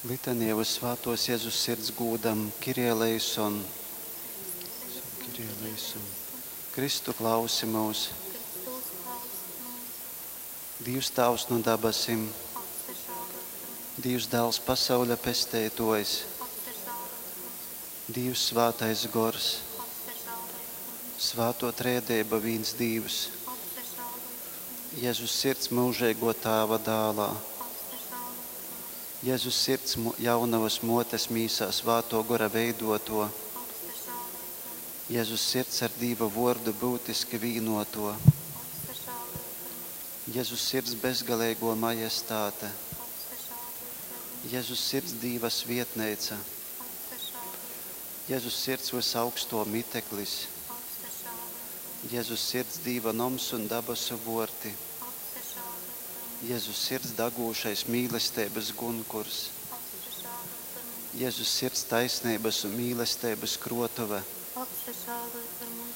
Litanija uz Svātōs Jezus Sirds gūdam, Kyrie eleison, Kyrie eleison. Kristu klausi mūs, Kristu uzklausi mūs, Dīvs Tāvs nu dabasim, apsažāloj par mums, Dīvs Dāls pasauļa pesteitōjs, apsažāloj par mums, Dīvs Svātais Gors, apsažāloj par mums, Svātō Trejadeiba vīns Dīvs, apsažāloj par mums, Jezus Sirds myužeigō Tāva dālā, apsažāloj par mums, Jezus Sirds jaunovas mōtes mīsā Svātō Gora veidōtō, apsažāloj par mums, Jezus Sirds ar Dīva vōrdu byutiski vīnōtō, apsažāloj par mums, Jezus Sirds bezgaleigō majestāte, apsažāloj par mums, Jezus Sirds Dīva svietneica, apsažāloj par mums, Jezus Sirds vysaugstō miteklis, apsažāloj par mums, Jezus Sirds Dīva noms un dabasu vōrti, apsažāloj par mums, Jezus Sirds dagūšais mīlesteibas gunkurs, apsažāloj par mums, Jezus Sirds taisneibas un mīlesteibas krōtuve, apsažāloj par